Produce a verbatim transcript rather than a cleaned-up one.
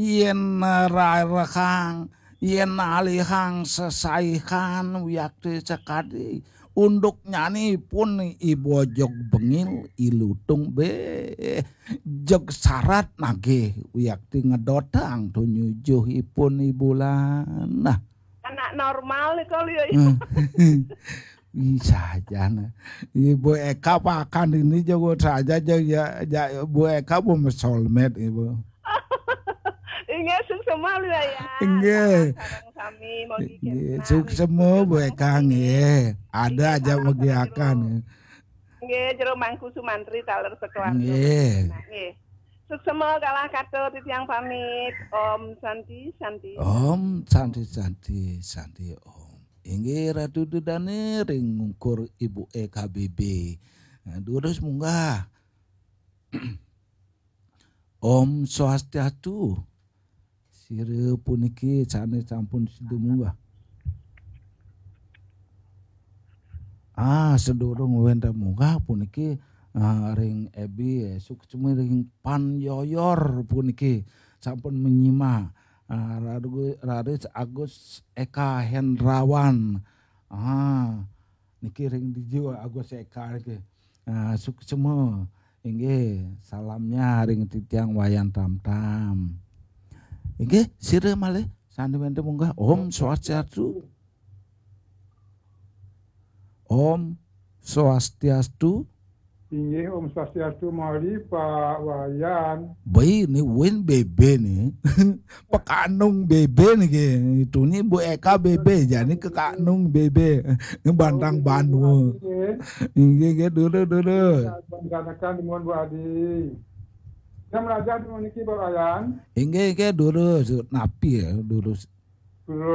Yén rarehang, yén alihang sesaihan wiakti sakadi, unduk nyanipun I Bojog Bengil, I Lutung bé, jeg sarat nagih wiakti ngedotang tumujuhipun I Bulan. Nah. Anak normal nika liu. Hmm. Ih, saja, nah. Ibu Eka pakan ini jago saja, ja-, ja-, ja-, Bu Eka bu soulmate, Ibu. Inggih, suksema liu ya. Inggih. Sareng sami, mugi inggih, kinten suksema, Bu Eka, nggih. Ada aja mugi akan. Inggih, jero Mangku Sumantri taler sekeluarga. Nggih. Nah, nggih. Suksema galah kata titiang pamit. Om Santi, Santi. Om Santi, Santi, Santi, Om. Inggih Ratu Dedane ring ungkur Ibu E K B B. Nah, durus munggah. Om Swastiastu. Sira puniki sane sampun sida munggah. Ah, sedurung wenten munggah puniki, ah, ring Ebi, eh, suksma ring Pan Yoyor puniki sampun menyimak. Ah, raru-, raris Agus Eka Hendrawan. Ah, niki ring dija Agus Eka niki. Ah, suksma. Inggih, salamnya ring titiang Wayan Tamtam. Inggih, sira malih sane wenten munggah. Om Swastiastu. Om Swastiastu. Inggih, Om Swastiastu malih, Pak Wayan. Baik, ni win B B ni. Pekanung B B niki. Itu ni Bu Eka B B, jani Kekanung B B. Ni Bantang Banua. Inggih, inggih, dulu, dulu. Bantanakan nuwun, Bu Adi. Jam raja di niki, Pak Wayan. Inggih, inggih, dulu. Napi ya, dulu. Dulu.